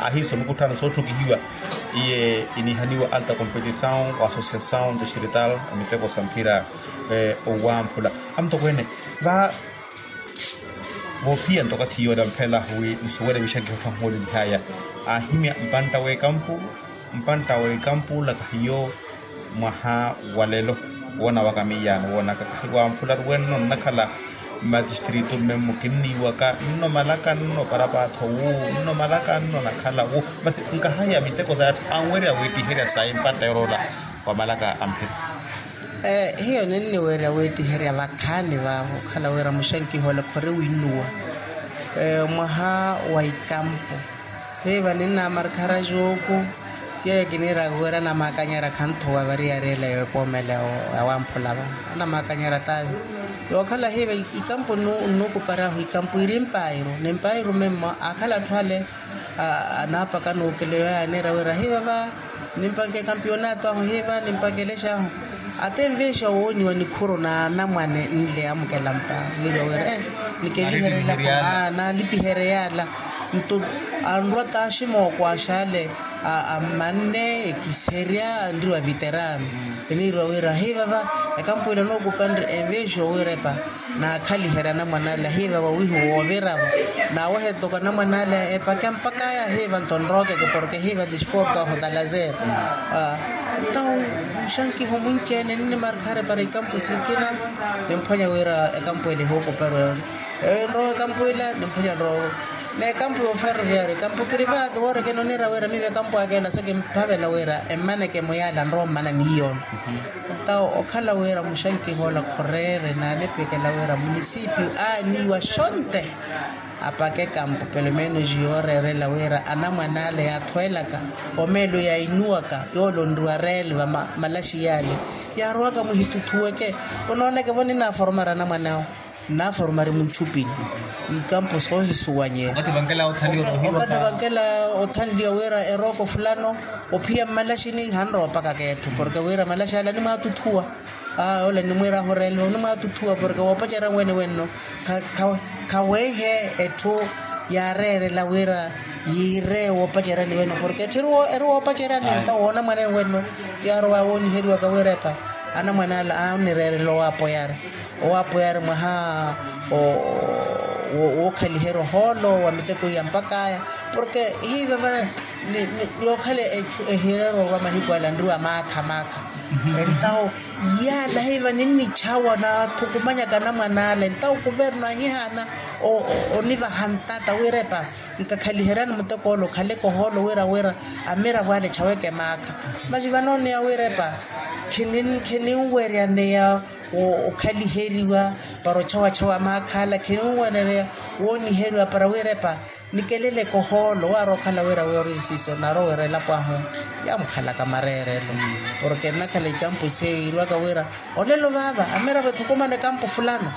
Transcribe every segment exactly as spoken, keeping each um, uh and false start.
Ahiisa omikutthano sootthukihiwa iye inihaniwa alta competisaw wa associasaw distrital a miteko sa mphira. Owamphula amutokweene va voophiya nto okathi yoola mphela wi nsuwele mixankiho tthahumwele nihaya ahimya mpantta w'ekampu mpantta w'ekampu olaka hiyo. Mwaha wa lelo woona waka miyaano woonaka kahiwamphularu wenno nnakhala mmatistritu mme mmukinniiwaka nno malaka nno parapaatho wu nno malaka nno nakhala wu masi nkahaya miteko sa atthu anwerya wiittiherya sayi mpantta yoroola wa malaka a mphira. Hiyo ninniwerya wiittiherya vakhaani vaavo okhala wira muxankiho ole khori winnuwa mwaha wa ikampu. Hiiva ninnamarkhara jooku yeeyo kiniiraka wira anamaakanyerya khanthuwa variyari ela yoopomela yawamphula va anamaakanyerya taavi. Yookhala hiiva ikampu nnuukuparahu ikampu iri mpairu ni mpairu memmo aakhala atthu ale anaapaka nuukeleyo yaaniira wira hiiva va nimpanke kampionato ahu hiiva nimpakelexa ahu. Ate nveexa wooniwa nikhuru na anamwane nle amukela mpa wiiriwa wira nikeliherelako naalipiherya yaala. Nto anrwa taaxi mookwaxale ammanne ekiserya anriwa viterano. Eniiriwa wira hiiva va ekampu ila nookupanre enveexa owirepa naakhaliherya anamwane ale hiiva vawihu wooviravo. Naawehe toko anamwane ale epakya mpakaya hiiva nto nrookeke porke hiiva disporto ahu talazer. Ntawo muxankiho mwinci-ene ninnimarkhare para ikampu sikina nimphwanya wira ekampu ele ehuukuperwe. Nrowa ekampu ila nimphwanya nrowa n'ekampu y'oferroviario ekampu privado woorekena oniira wira miiva ekampu aka ela so kimphavela wira emmaneke muyaala nrowa mmana niiyoono. Ntawo okhala wira muxankiho ola khoreere naanipikela wira munisipiyu aaniiwa xonte apake kampu pelomenos yooreerela wira anamwane ale yaathweelaka omeelo yainuwaka yoole onriwa reele va malaxi yaale yaarowaka muhituthuweke. Onooneke vo ninaaforomari anamwane awo nnaaforomari muntthupini ikampu soohisuwanyeya. Okathi vankela othanliwa wira erooko fulano ophiya mmalaxini hanrowa opakaka etthu porke wira malaxi ale animwaatuthuwa. Ole nimwiirahu oreeliwa onimwaatuthuwa porke woopacerya wene wenno khaweehe etthu yaareerela wira yiire woopaceryani wenno porke etthu eri woopaceryani nta woona mwanene wenno. Yaarowa wooniheriwaka wira epa anamwane ala aanireerela owaapoyari owaapoyari mwaha wookhaliherya ohoolo wa miteko iya mpakaya porke hiiva vale. Niyookhala ehireera orwa mahiku ala nriwa maakha maakha entawo yaala hiiva ninnichawa naathukumanyaka anamwane ale entawo kuvernu ahihaana onivaha ntata wiirepa nkakhaliheryani muteko ole okhaleke ohoolo wira wira amiravo ale echaweke maakha. Masi vanooneya wiirepa khininweryaneya okhaliheriwa para ochawachawa maakha ala khininweryaneya wooniheriwa para wiirepa nikeleleke ohoolo waari okhala wira wira ori nsiso naari owiira elapo ahu yaamukhalaka mareerelo. Porke nnakhala ikampu seiiriwaka wira olelo vaava amiravo ethukumana ekampu fulano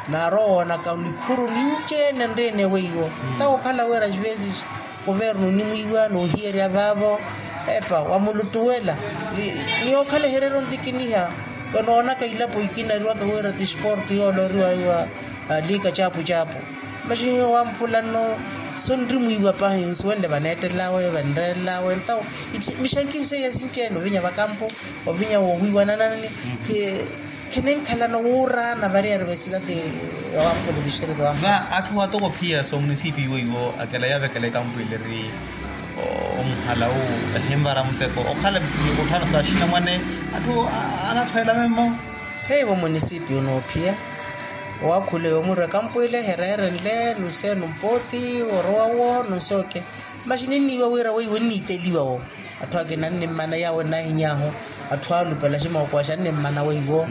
naari owoonaka nikhuru ninci-ene nriine weiwo ntawo okhala wira xivezixi kuvernu onimwiiwa noohiyerya vaavo epa wamulutuwela. Niyookhala eherero ntikiniha kanoonaka ilapo ikinariwaka wira ti sporto yoole oriwaiwa liika caapu caapu. Masi hiyo wamphula nno sonrimwiiwa pahi nsuwenle vaneettelelawe vanreerelawe ntawo mixankiho seiya sinci-ene ovinya vakampu ovinya woowiiwananani. Khininkhalana wuuraana variyari vesitati yowamphula tixerito wamphula va atthu atoko phiya so munisipiyu weiwo akela yaavekela ekampu ile eri omuhala wu ehinvara muteko okhala mikutthano sa axinamwane atthu anathweela memmo. Heivo munisipiyu noophiya owaakhule yoomurwa ekampu ile hereere nle nuse numpoti orowa wo nuse oke. Masi ninniiwa wira weiwo nniiteliwa wo atthu akina nnimmana yaawo ennahiny'ahu atthu alupela aximookowaxa nnimmana weiwo.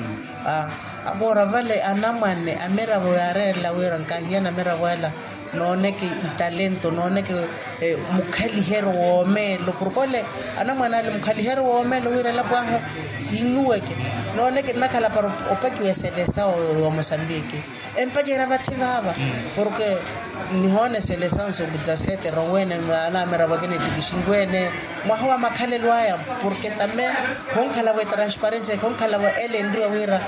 Akoora vale anamwane amiravo yaareerela wira nkahiyana amiravo ala nooneke italento nooneke mukhaliheryo woomeelo porke ole anamwane ale mukhaliheryo woomeelo wira elapo ahu inuweke nooneke nnakhala para opakiwa eselesawo yoomosambiki empacerya vathi vaava porke nihoona eselesawo nso kudzasete ronwene anamiravo akina etikixinwene mwaha wa makhalelo aya porke tame khonkhalavo etransparensia khonkhalavo ele enriwa wira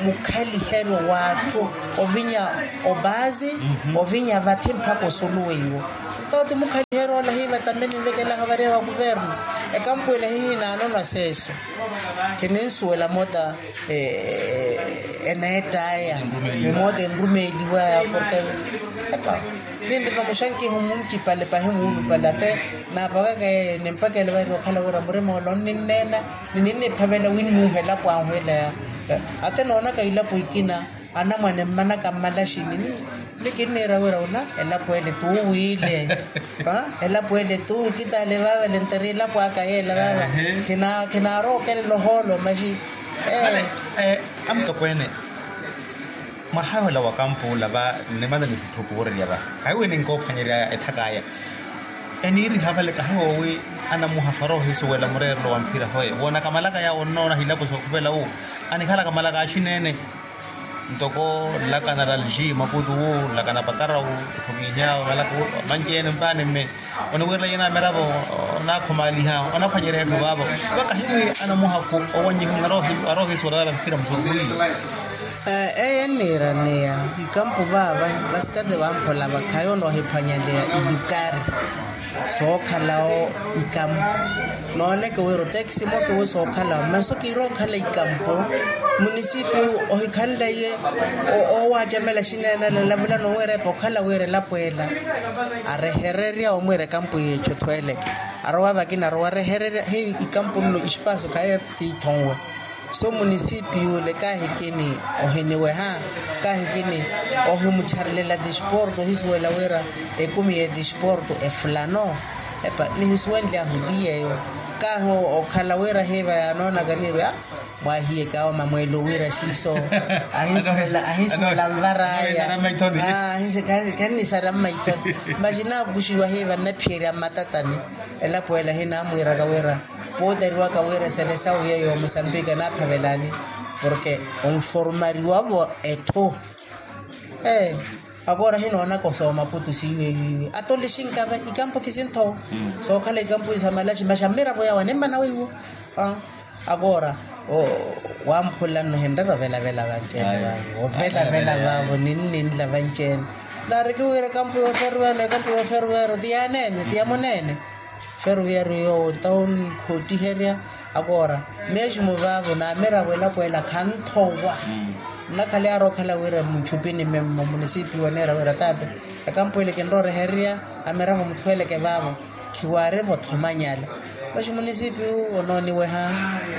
mukhaliheryo w'atthu ovinya obazi ovinya vathi mpakha osuluweiwo. Nto ti mukhali Ohiherya ola hiiva tambe ninvekelaha ovariha wa kuvernu. Ekampu ela hihinaanona seeso. Khininsuwela moota eneett'aya ni moota enrumeeliw'aya porke epa, ninrina omuxankiho muncipale pahi muulupale ate naapakaka yeeyo nimpakele varira okhala wira murima ole onninneena ni ninniphavela winnuuha elapo ahu ela ya ate noonaka ilapo ikina. Anamwane mmanaka mmalaxini ni kinniira wira ola elapo ele tuuwiile. Elapo ele tuuwi kitaale vaava lenteri elapo aka yeela vaava. Khinaarookelela ohoolo maxi. Amutokweene, mwaha wela wa kampu ola va nnimana nihutthupu woorerya va kahiwi ninkoophwanyerya ethaka aya. Eniiriha vale kahiwoowi anamuha kharoohisuwela mureerelo wa mphira hoye woonaka malaka yaawo onnoona hilapo sookhupela wu anikhalaka malaka axineene. Ntoko nlakana lalji maputu wu nlakana patarawu otthomihiyawo malaka wu manci-ene mpaani mme oniwirela yina amiravo. Onaakhumaliha onaphwanyerya etthu vaavo vakahiwi anamuhakhu owanyihu aroohisuwela vale mphira musurukuliwe. Eyo enniiraneya ikampu vaava vasitati vamphola vakhayi onoohiphwanyaleya ilukari sookhalawo ikampu. Nooneke wira otekisi moke wi sookhalawo masi okiira okhala ikampu. Munisipiyu ohikhanle iye oowacamela xineenala lavulana owiira epa okhala wira elapo ela arehererya omwiira ekampu yeetthu othweeleke arowa vakina arowa arehererya hi ikampu nno ispaaso khaye tiithonwe. So munisipiyu ole kaahikini ohiniweha kaahikini ohimuttharelela tisporto ohisuwela wira ekumi ya tisporto efulano epa nihisuwenlyahu ti yeeyo. Kaahi okhala wira hiiva yaanoonaka niirwe a mwahiyeke awo mamweelo wira siiso ahinsuwela nvar'aya. Kannisarya mmaithoni maxi naakuxiwa hiiva nnaphiyerya mmatatani. Elapo ela hinaamwiiraka wira pootariwaka wira esele sawu yeeyo omusambiki anaaphavelani porke onformariwa-vo etthu. Ee akoora hinoonaka osoomaputu siiweiwiiwi atolixinka-ve ikampu khisinthowa sookhala ikampu isamalaxi maxi amiravo yawo animmana weiwo. Akoora wamphula nno hinrera ovelavela vanci-ene vaavo ovelavela vaavo ninninla vanci-ene. Naari kiwiira ekampu yooferuwelo ekampu yooferuwelo ti yaaneene ti yamuneene. Feruviyari yoowo tauni khootiherya akoora meximu vaavo naamiravo elapo ela khanthowa. Nnakhala yaari okhala wira muchupini mmemmo munisipiyu oneera wira taape ekampu ele kinrowa orehererya amiravo muthweeleke vaavo. Khiwaari-vo thomanyala maxi munisipiyu onooniweha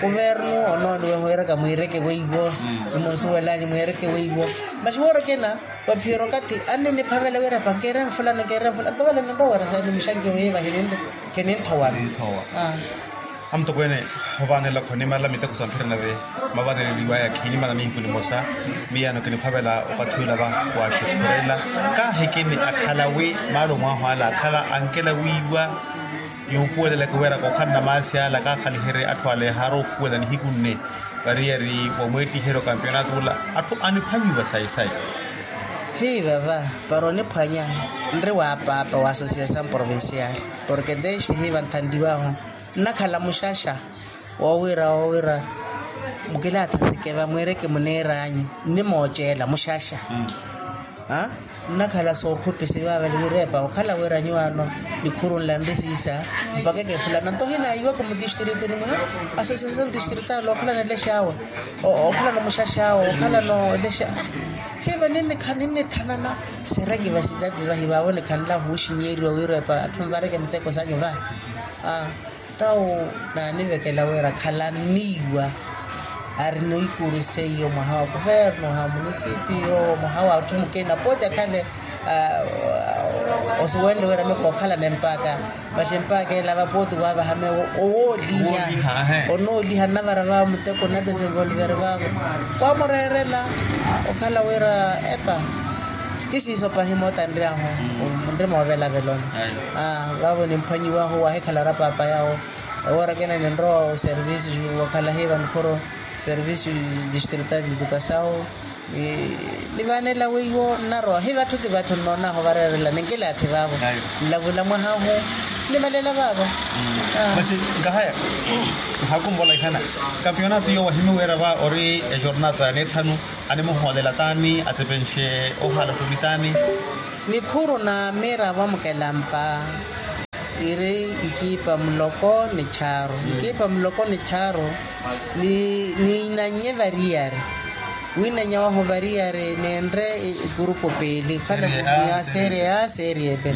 kuvernu onooniweha wiiraka mwiireke weiwo. Nimunsuwelanyu mwiireke weiwo maxi woori okina vaphiyerya okathi anniniphavela wira epa nkeere nfulano nkeere nfulano nto vale ninrowa wira saani muxankiho hiiva hininre. Khininthowa. Amutokweene ovaanela khonimala miteko sa mphira nave mavaneleliwaya khinimala nihiku nimosa. Miyano kiniphavela okathi ula va waaxukhurela kaahikini akhala wi maalo mwahu ala akhala ankela wiiwa. Yuupuweleleke wira kookhala namaasi ala kaakhaliherye atthu ala ehaari okhuwela nihiku nne variyari wa mweettiheryo kampionato ula atthu aniphwanyiwa sayi sayi. Hiiva va para oniphwanya nri wa paapa wa association provincial porke teste hiiva nthanliwahu nnakhala muxaxa woowira woowira mukilaatha sikeva mwiireke muniir'anyu nnimooceela muxaxa. Nnakhala sookhupisi vaavale wiirepa okhala wira nyuwaano nikhurunla nri siisa mpaka ekefulana nto ohinaiwaka mutistiritoni mwa association tistritali okhalana elexaawe okhalana omuxaxaawe okhalana olexa. Hiiva ninnikha ninnithanana sereki vasitati vahi vaavo nikhanla huuxinyeeriwa wiirepa atthu nvareke miteko sanyu vahi. Tawo naanivekela wira khalanniiwa ari noikuriseiyo mwaha wa kuverno ha munisipiyo mwaha wa atthu mukina pooti akhale osuwenle wira mikookhalana empaaka. Maxi empaaka ela va pooti waavaha meewo owooliha onooliha nnavara vaavo muteko nnadesenvolveri vaavo. Wamureerela okhala wira epa ti siiso pahi moota nriahu nri moovelaveloni. Vaavo nimphwanyiwahu wahikhala ra paapa yawo. Ewoora kina ninrowa oservice wakhala hiiva nikhuro service distrital educasawo. Nivaanela weiwo nnarowa hiiva atthu ti vatthu nnoonahu vareerela ninkilaathi vaavo. Nlavula mwahahu nivalela vaavo. Masi nkahaya nhakumvola ihana kampionato iyo wahimiweera va ori ejornata nethanu animuhoolela taani atepenxe ohaala ottuli taani. Nikhuru na miira vamukelampa. Iri ikipa muloko ni charu ikipa muloko ni charu. Ni ninanye variyari winanya wahu variyari nenre ikurupu pili khala ya serie a serie b.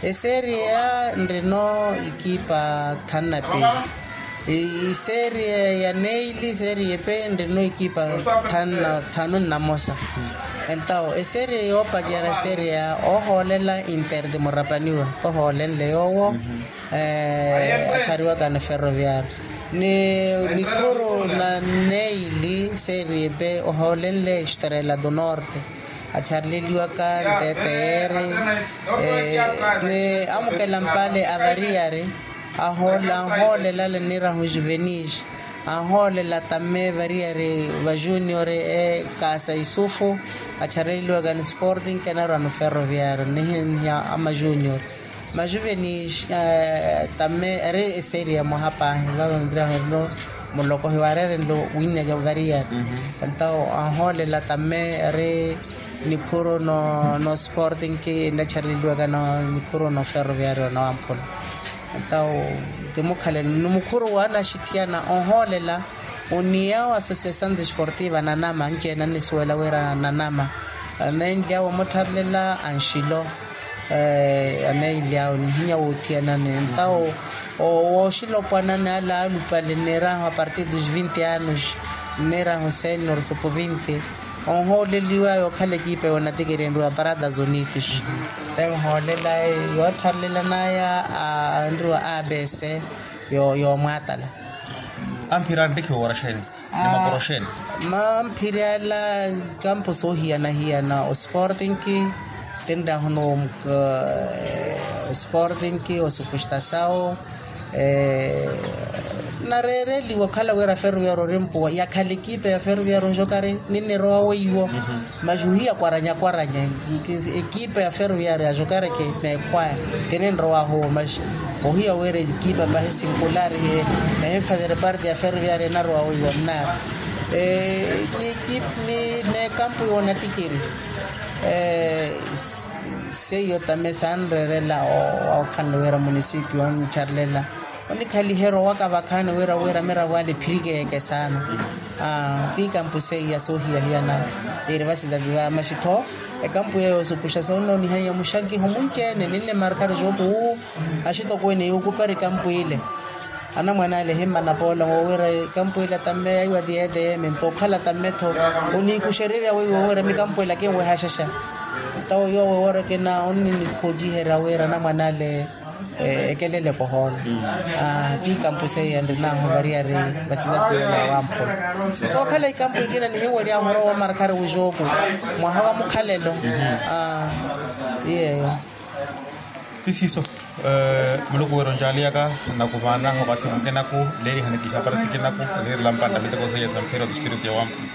Eserie a nrino ikipa thanu na pili. Iserie ya neili serie b nrino ikipa thanu na mosa. Entawo eserie yoopacerya serie a ohoolela inter de murapaniwa tohoolenle yoowo. Achariwaka ni ferroviario ni nikuru na neili serie b ohoolenle estrela do norte. Acharleliwaka nteteeri ni amukela mpale avariyari. Anhoolela le nirahu juvenil anhoolela tamme variyari vajunior. Ekasa isufu acharleliwaka ni sporting kenarwa ni ferroviario nihi ama junior. Majuvenil tamme eri eseria mwaha paahi vava nviraherelo. Mulokohi waarerenlo winnya ja variyari. Entawo anhoolela tamme eri nikhuru no sporting ki ennachareleliwaka no nikhuru no ferroviario na wamphula. Entawo ti mukhalelo ni mukhuru wa anaxithiyana onhoolela. Oniyawo associação desportiva nanama anci-ene annisuwela wira nanama. Aneenly'awe omuttharlela anxilo. Aneenly'awe nihinya woothiyanani entawo wooxilopwanani ala alupale nneerahu a partir dos vinti anos nneerahu senior supu vinti. Onhooleliwa yookhala ekipa yoonatikiri enriwa parada zonitos. Te onhoolela yoottharlela naya anriwa abc. Yoomwaatala. Amphira antikhiwa waraxeni ni maporoxeni. Mamphiri ala kampu soohiyana-hiyana osportinki tinrahuna osportinki osupustasawo. Nareereliwa okhala wira ferroviario orimpuwa yakhala ekipa ya ferroviario onxokari ninnirowa weiwo. Maxuhiya kwaranya-kwaranya ekipa ya ferroviario axokareke neekhwaya. Kininrowahu omaxi ohiya wira ekipa pahi sinkulari he ehinfazere parte ya ferroviario enarowa weiwo nnaari. Ni ekipa ni nekampu yoonatikiri. Seiyo tame sanreerela okhanle wira munisipio onnicharlela onikhaliherya owaka vakhaani wira wira miravo ale ephirikeeke saana. Ti kampu seiya soohiya-hiyana. Iri vasidadi va maxitho ekampu yeeyo osupuxa soonnoonihaniya muxakiho munci-ene ninnimarkari xooku wu axitokweene yuukupari kampu ile. Anamwane ale ehimmana poola wowira kampu ile tamme yaiwa ti eete yeemento okhala tamme-tho oniikuxererya weiwo wira mikampu ile akinwehaxaxa. Entawo yoowo ewoora ekina onninikhoociherya wira anamwane ale ekelele kohoolo. Ti kampu seiya nrinaahu variyari vasizatiyela wamphula. Sookhala ikampu ikina nihiweryahu orowa omarkari wuxooku mwaha wa mukhalelo. Ti yeeyo. Ti siiso. Muluku wira onjaaliyaka nakuvaana okathi mukinaku leelihana kihapari sikinaku leerilampa nnamiteko seiya sa mphira otistritu ya wamphula.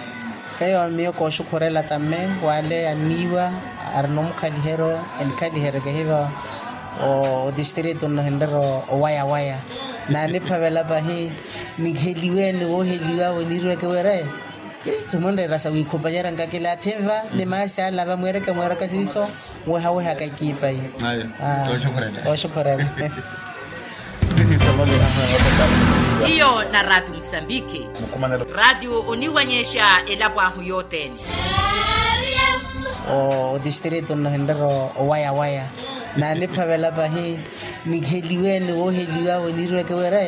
Eyo miyo kooxukhurela tamme wale anniiwa arina omukhaliheryo enikhaliheryo kehiva. Otistritu nno hinrera owaya-waya naaniphavela pahi. Nikheliwe ni wooheliwa weniiriweke wira. Khimunreera sawiikhupacerya nkakilaathi nva ni maasi ala vamweereke mweeraka siiso. Wehawehaka ekipa iyo. Oxukhurela. Iyo na raati musambiki. Raati oniwanyexa elapo ahu yothene. Otistritu nno hinrera owaya-waya naaniphavela pahi. Nikheliwe ni wooheliwa weniiriweke wira.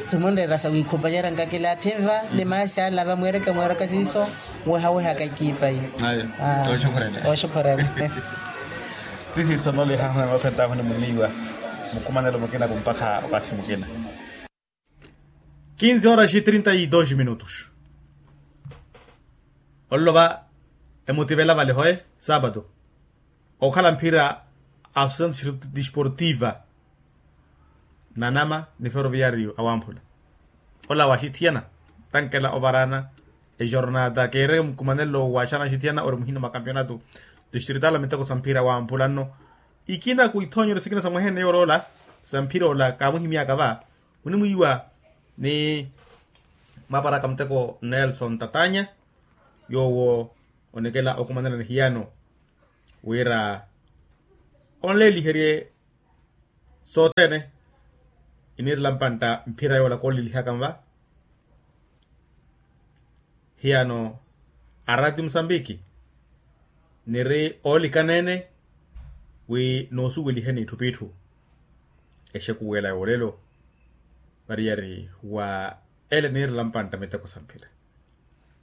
Khimunreera sawiikhupacerya nkakilaathi nva ni maasi ala vamweereke mweeraka siiso. Wehawehaka ekipa iyo. Oxukhurela. Ti siiso nno lihahu na noothetaahu ni muniiwa mukumanelo mukina kumpakha okathi mukina. Kinze horas e trinta e dos minutos. Olova emutivela vale hoe sapato. Okhala mphira a associação desportiva nanama ni ferroviario awamphula. Ola waxithiyana tankela ovarana ejornata keere mukumanelo waxana axithiyana ori muhina mwa campeonato distrital a miteko sa mphira awamphula nno. Ikina ku ithoonyero sikina sa mweheneyo oroola sa mphira ola kaamuhimyaka va onimwiiwa ni mwaparaka muteko nelson tatanya yoowo onekela okumanela nihiyano wira onleeliherye Sothene iniirela mpantta mphira yoola koolilihaka nva. Hiyano araati musambiki niri oolikaneene wi noosuweliheni itthu p'itthu exekuwela yoolelo. Variyari wa ele niirela mpantta miteko sa mphira.